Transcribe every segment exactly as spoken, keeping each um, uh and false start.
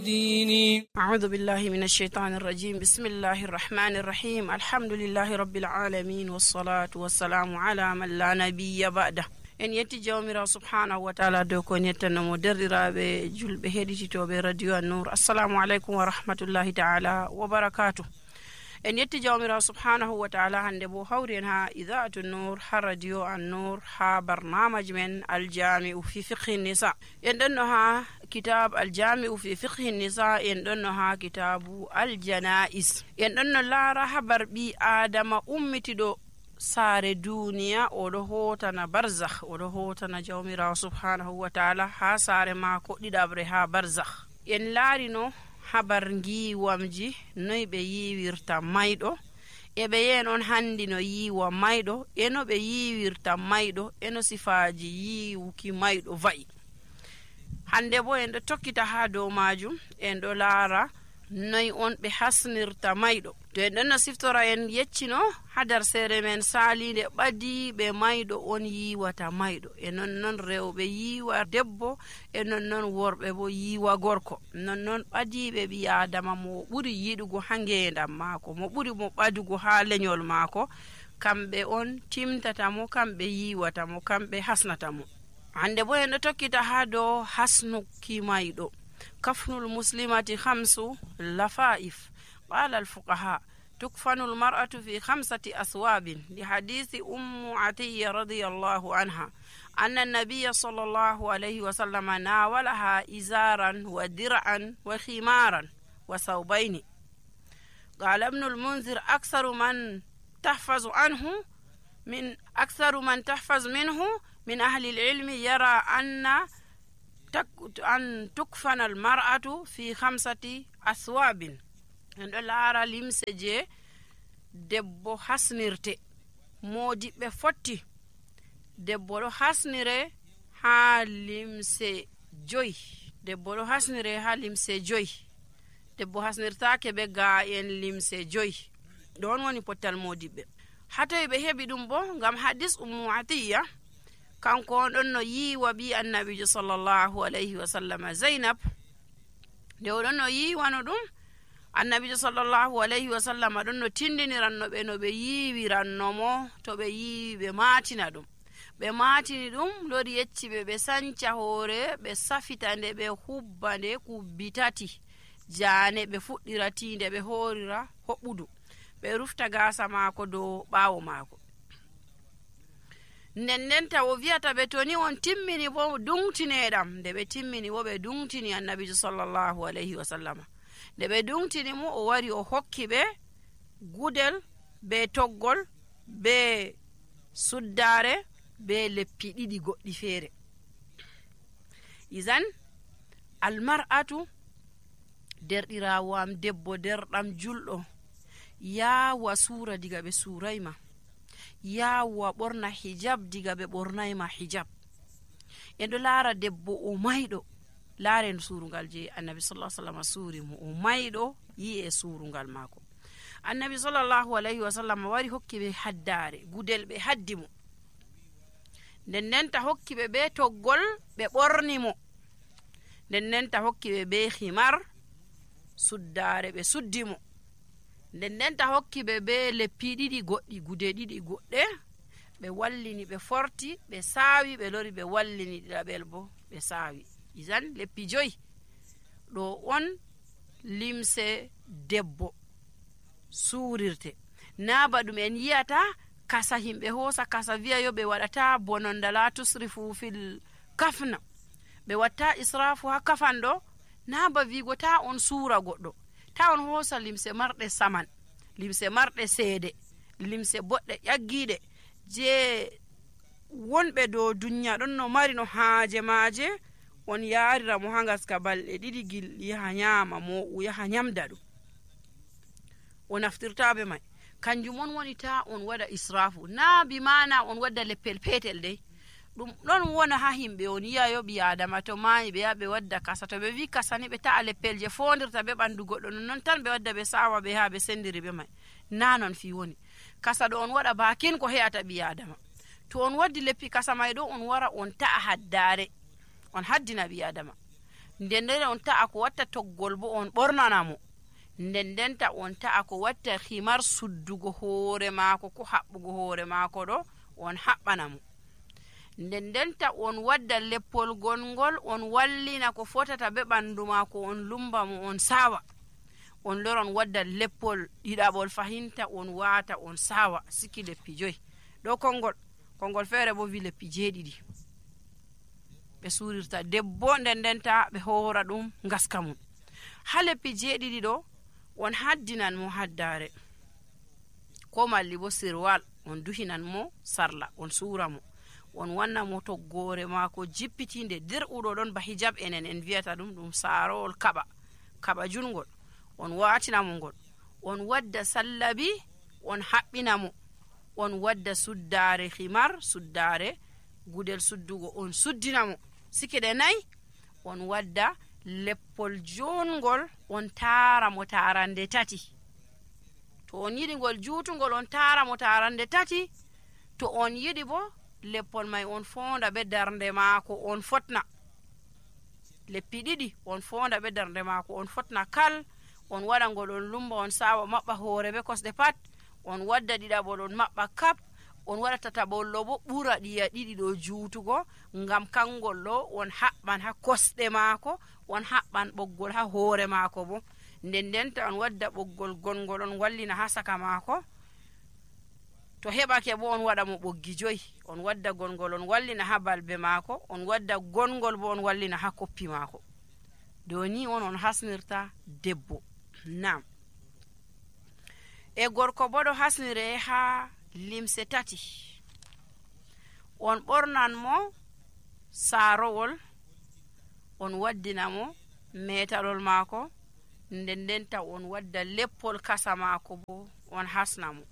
ديني. أعوذ بالله من الشيطان الرجيم. بسم الله الرحمن الرحيم. الحمد لله رب العالمين والصلاة والسلام على من لا نبي بعده. en yetti jawmirawo subhanahu wa taala dow ko nettanomo derɗiraɓe julɓe heɗititoɓe radio an-nour. assalamu aleykum wa rahmatullahi taala wa barakatuh. en yetti jawmirawo subhanahu wa taala hande bo hawri en ha idaatu nour ha radio an-nour ha barnamaji men aljami'u fi fiqhi nisa. en ɗonno ha kitab aljami'u fi fiqhi nisa, en ɗonno ha kitabu aljanais. en ɗonno laara habar ɓi adama ummitiɗo saare duniya oɗo hotana barzakh, oɗo hotana jawmirawo subhanahu wa taala ha saare maako ɗiɗaɓre ha barzakh. en laarino habar ngiwamji noy ɓe yiwirta mayɗo, e ɓe yen on handi no yiwa mayɗo, eno ɓe yiwirta mayɗo, eno sifaji yiwuki mayɗo va'i. hande bo en ɗo tokkita ha dow majum, en ɗo laara noy on ɓe hasnirta mayɗo. to en ɗonno siftora en yeccino hadar sere men salinde ɓadi ɓe mayɗo on yiwata mayɗo, e nonnon rewɓe yiwa debbo, e nonnon worɓe bo yiwa gorko. nonnon ɓadiɓe ɓi adama mo ɓuri yiɗugo ha ngendam maako, mo ɓuri mo ɓadugo ha leñol maako, kamɓe on timtata mo, kamɓe yiwata mo, kamɓe hasnata mo. hande bo en ɗo tokkita ha dow hasnuki mayɗo. كفن المسلمة خمس لفائف. قال الفقهاء تكفن المرأة في خمسة أثواب، لحديث أم عطية رضي الله عنها أن النبي صلى الله عليه وسلم ناولها إزارا ودرعا وخمارا وثوبين. قال ابن المنذر أكثر من تحفظ عنه من أكثر من تحفظ منه من أهل العلم يرى أن أن تكفن المرأة في خمسة أثواب. en ɗo laara limse je debbo hasnirte, modiɓɓe fotti debbo ɗo hasnire ha limse joyi, debbo ɗo hasnire ha limse joyi, debbo hasnirtake be ga en limse joyi. ɗon woni pottal modiɓɓe. hatoy ɓe heɓi ɗum bo ngam hadis ummu atiya, kanko on ɗon no yiwa ɓi annabijo sallallahu alayhi wa sallam zainab. nde oɗon no yiwano ɗum, annabijo sallallahu alayhi wa sallam ɗon no tindiniranno ɓe no ɓe yiwirannomo to ɓe yiwi ɓe matina ɗum. ɓe matini ɗum, lori yecci ɓe ɓe sanca hoore, ɓe safita nde, ɓe hubba nde kubbi tati jane, ɓe fuɗɗira tinde, ɓe horira hoɓɓudu, ɓe rufta gasa maako dow ɓawo maako. nden nden tawo wiyata ɓe to ni on timmini bo dungtineɗam. nde ɓe timmini bo ɓe dungtini annabijo sallallahu alayhi wa sallama. nde ɓe dungtini mo, o wari o hokki ɓe gudel be toggol be suddare be leppi ɗiɗi goɗɗi feere. izan almar'atu, derɗirawo am debbo derɗam julɗo, yawa suura diga ɓe surayma, yawa ɓorna hijab diga ɓe ɓornayma hijab. en ɗo laara debbo o mayɗo, laaren surungal je annabi sallallahu alaihi wasallam suuri mo, o mayɗo yi e surungal maako. annabi sallallahu alaihi wasallam wari hokki ɓe haddare, gudel ɓe haddi mo, nden nden ta hokki ɓe be toggol ɓe ɓorni mo, nden nden ta hokki ɓe be himar, suddare ɓe suddi mo, nden nden ta hokki ɓe be leppi ɗiɗi goɗɗi, gude ɗiɗi goɗɗe, ɓe wallini ɓe forti, ɓe saawi, ɓe lori ɓe wallini ɗiɗaɓel bo ɓe saawi. izan leppi joyi ɗo on limse debbo suurirte. na ba ɗum en yiyata kasa himɓe hoosa kasa wiya yo ɓe waɗata bononda la tusrifu fil kafna, ɓe watta israfu ha kafan ɗo. na ba wigo ta on suura goɗɗo, ta on hoosa limse marɗe saman, limse marɗe seede, limse boɗɗe ƴaggiɗe je wonɓe dow duniya ɗon no mari no haaje maaje, on yarira mo ha gaska balɗe ɗiɗi gil yaha nyama mo yaha nyamda ɗum, o naftirtaɓe mai. kanjum on woni ta on waɗa israfu. na bi mana on wadda leppel petel dey, ɗum ɗon wona ha himɓe on yiyayo ɓi adama to mayi ɓe yaha ɓe wadda kasa, to ɓe wi kasani ɓe ta'a leppel je fondirta be ɓandu goɗɗo, nonnon tan ɓe wadda ɓe sawa ɓe ha ɓe sendiri ɓe mai. na non fi woni kasa ɗo on waɗa bakin ko he'ata ɓi adama. to on waddi leppi kasa mai ɗo, on wara on ta'a haddare, on haddina ɓi adama. nden nden on ta'a ko watta toggol bo on ɓornana mo, nden ndenta on ta'a ko watta himar suddugo hoore maako ko haɓɓugo hoore maako ɗo on haɓɓana mo, nden ndenta on wadda leppol gongol on wallina ko fotata be ɓandu maako on lumba mo on sawa, on loron wadda leppol ɗiɗaɓol fahinta on waata on sawa siki leppi joyi ɗo kongol kongol feere bo wi leppi jeeɗiɗi ɓe suurirta debbo, nden ndenta ɓe hoora ɗum ngaska mum. ha leppi jeeɗiɗi ɗo on haddinan mo haddare ko malli bo sirwal on duhinan mo sarla on suura mo, on wanna mo toggore maako jippitinde dirɓuɗo ɗon ba hijab enen en wiyata ɗum ɗum saarowol kaɓa kaɓa jungol on waatina mo ngol, on wadda sallabi on haɓɓina mo, on wadda suddare himar suddare gudel suddugo on suddina mo sikiɗe nayi, on wadda leppol jungol on taara mo taarande tati, to on yiɗi ngol juutungol on taara mo taarande tati, to on yiɗi bo leppol may on fonda be darnde maako on fotna, leppi ɗiɗi on fonda be darnde maako on fotna kal, on waɗa ngol on lumba on sawa maɓɓa hoore be kosɗe pat, on wadda ɗiɗaɓol on maɓɓa kap, on waɗa tataɓollo bo ɓura ɗiya ɗiɗi ɗo juutugo, ngam kangol ɗo on haɓɓan ha kosɗe maako, on haɓɓan ɓoggol ha hoore maako bo, nden ndenta on wadda ɓoggol gongol on wallina ha saka maako, to heɓake bo on waɗa mo ɓoggi joyi, on wadda gongol on wallina ha balbe maako, on wadda gongol bo on wallina ha koppi maako. dow ni on on hasnirta debbo. Nam e gorko bo ɗo hasnire ha limse tati, on ɓornan mo saarowol, on waddina mo metalol maako, nden ndenta on wadda leppol kasa maako bo on hasna mo,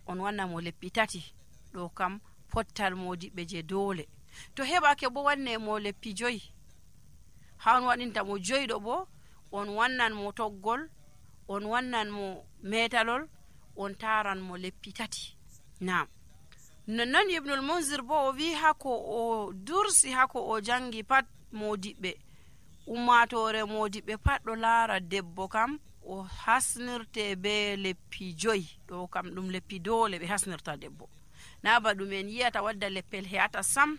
on wanna mo leppi tati, ɗo kam pottal modiɓɓe je doole. to heɓake bo wanne mo leppi joyi, ha on waɗinta mo joyi ɗo bo on wannan mo toggol, on wannan mo metalol, on taran mo leppi tati. Nam nonnon ibnul munzir bo o wi hako o dursi hako o jangi pat modiɓɓe ummatore modiɓɓe pat ɗo laara debbo kam o hasnirte be leppi joyi, ɗo kam ɗum leppi doole ɓe hasnirta debbo, na ba ɗum en yiyata wadda leppel he'ata sam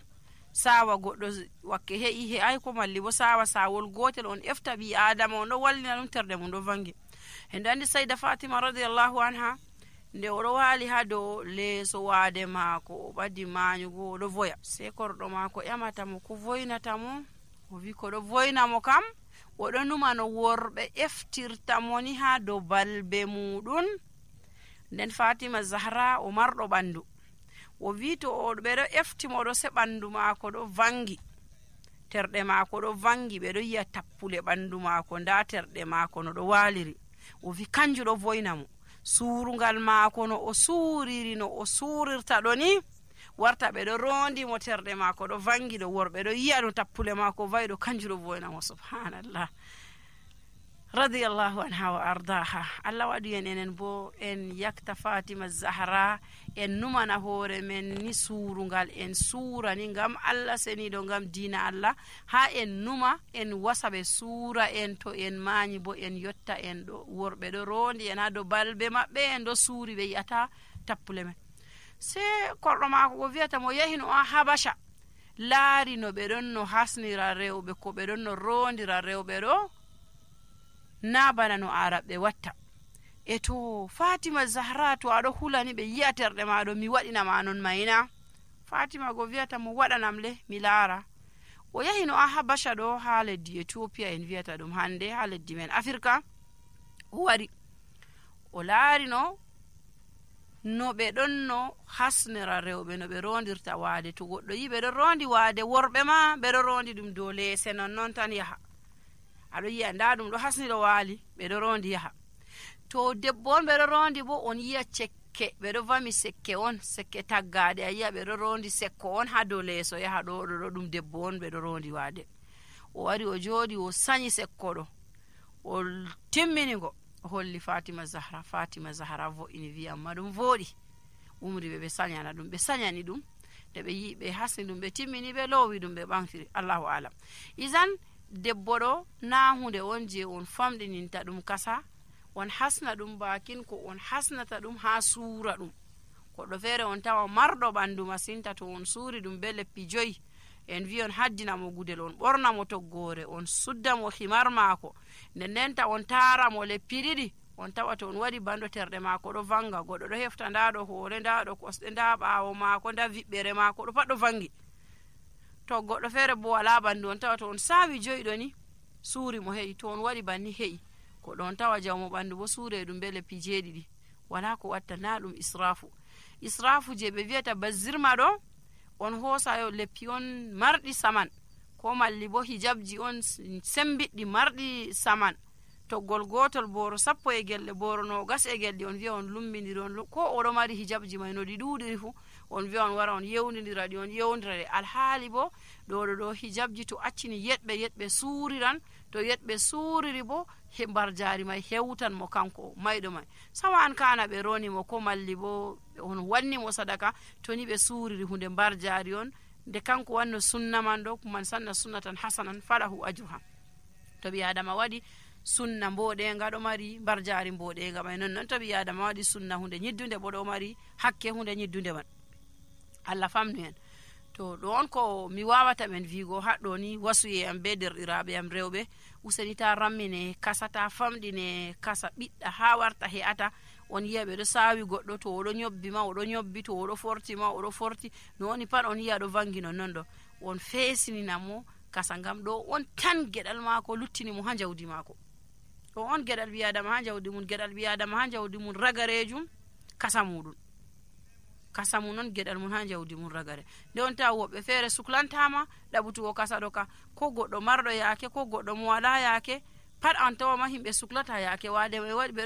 sawa goɗɗo wakke he'i he'ai ko malli bo sawa sawol gotel on efta ɓi adama on ɗo wallina ɗum terde mum ɗo vangi. en andi sayda fatima radiallahu anha nde oɗo waali ha dow leeso waade maako o ɓaddi mañugo oɗo voya, sei korɗo maako ƴamata mo ko voynata mo, o wi ko ɗo voyna mo kam oɗo numa no worɓe eftirta mo ni ha dow balbe muɗum. nden fatima zahra o marɗo ɓandu, o wi to o ɓeɗo efti mo ɗo se ɓandu maako ɗo vangi, terɗe maako ɗo vangi, ɓeɗo yiya tappule ɓandu maako, nda terɗe maako no ɗo waliri, o wi kanju ɗo voyna mo. suurungal maako no o suuriri no o suurirta ɗo ni warta ɓeɗo rondi mo terɗe maako ɗo vangi ɗo, worɓe ɗo yiya no tappule maako vayi ɗo, kanju ɗo voyna mo. subhanallah radiyallahu anha wa ardaha. Allah waɗi en enen bo en yakta fatima zahra, en numana hoore men ni suurungal, en suura ni ngam Allah seniɗo, ngam diina Allah, ha en numa en wasa ɓe suura en, to en mañi bo en yotta en ɗo, worɓe ɗo rondi en ha dow balbe maɓɓe, en ɗo suuri ɓe yiyata tappule men. se korɗo maako ko wiyata mo yahi no a habasha, laari no ɓe ɗon no hasnira rewɓe, ko ɓe ɗon no rondira rewɓe ɗo, na bana no araɓe watta. e to fatima zahra to aɗo hulani ɓe yi'a terɗe maɗo, mi waɗinama non mayna. fatima go wiyata mo waɗanam le mi laara. o yahi no a habasha ɗo ha leddi Ethiopia en wiyata ɗum hande, ha leddi men Afrika. o wari o laari no no ɓe ɗon no hasnira rewɓe, no ɓe rondirta waade. to goɗɗo yi ɓe ɗo rondi waade, worɓe ma ɓe ɗo rondi ɗum dow leese non non tan yaha, aɗo yiya nda ɗum ɗo hasniɗo waali, ɓe ɗo rondi yaha. to debbo on ɓe ɗo rondi bo on yiya cekke, ɓe ɗo vami sekke on, sekke taggade, a yiya ɓe ɗo rondi sekko on ha dow leeso yaha ɗo ɗo ɗo ɗum debbo on ɓe ɗo rondi waade. o wari o jooɗi o sañi sekko ɗo, o timminigo, o holli fatima zahra. fatima zahra vo'ini wi amma ɗum vooɗi, umri ɓe ɓe sañana ɗum, ɓe sañani ɗum. nde ɓe yi ɓe hasni ɗum ɓe timmini ɓe loowi ɗum ɓe ɓamtiri. Allahu alam. Isan debbo ɗo na hunde on je on famɗininta ɗum kasa on hasna ɗum bakin ko on hasnata ɗum ha suura ɗum. Goɗɗo feere on tawa marɗo ɓandu masinta, to on suuri ɗum be leppi joyi en wi on haddina mo gudel, on ɓorna mo toggore, on sudda mo himar maako, nden ndenta on taara mo leppi ɗiɗi, on tawa to on waɗi bando terɗe maako ɗo vanga, goɗɗo ɗo hefta nda ɗo hoore, nda ɗo kosɗe, nda ɓaawo maako, nda viɓɓere maako ɗo pat ɗo vangi. To goɗɗo feere bo wala ɓandu, on tawa to on saawi joyi ni suuri mo he'i, to on waɗi banni he'i. Goɗɗo on tawa jawmo ɓandu bo suure ɗum be leppi jeeɗiɗi. Wala ko watta, na ɗum israfu. Israfu je ɓe wiyata bazirma ɗo, on hoosa yo leppi on marɗi saman, ko malli bo hijabji on sembiɗɗi marɗi saman, toggol gotol boro sappo e gelle, boro nogas e gelle, on wiya on lumbindiri on, ko oɗo mari hijabji may no ɗi ɗuɗiri fu on wiya on wara on yewnidira ɗi, on yewnidira ɗi. Alhaali bo ɗo ɗo ɗo hijabji to accini yeɗɓe yeɗɓe suuriran, to yeɗɓe suuriri bo he mbarjaari may hewtan mo kanko mayɗo may. Sawa an kana ɓe roni mo ko malli bo on wanni mo sadaka, to ni ɓe suuriri hunde mbarjaari on, nde kanko wanno sunna man ɗo, man sanna sunnatan hasanan falahu ajruha. To ɓi adama waɗi sunna mboɗenga ɗo mari mbarjaari mboɗenga may, non non to ɓi adama waɗi sunna hunde ñiddunde bo ɗo mari hakke hunde ñiddunde man. Allah famnu en. To ɗo on ko mi wawata men vigo haɗɗo ni wasuye am be derɗiraɓe am rewɓe, useni ta rammine kasa, ta famɗine kasa, ɓiɗɗa ha warta he'ata. On yiya ɓe ɗo saawi goɗɗo, to oɗo ñobbi ma oɗo ñobbi, to oɗo forti ma oɗo forti, no woni pat on yiya ɗo vangi non non ɗo. On feesinina mo kasa, ngam ɗo on tan geɗal maako luttini mo ha jawdi maako. Ɗo on geɗal ɓi adama ha jawdi mum, geɗal ɓi adama ha jawdi mum ragarejum kasa muɗum. Kasa mum non geɗal mum ha jawdi mum ragare. Nde on tawa woɓɓe feere suklantama ɗaɓutugo kasa ɗo ka, ko goɗɗo marɗo yaake, ko goɗɗo mo wala yaake, pat an tawa ma himɓe suklata yaake wade ɓe waɗi ɓe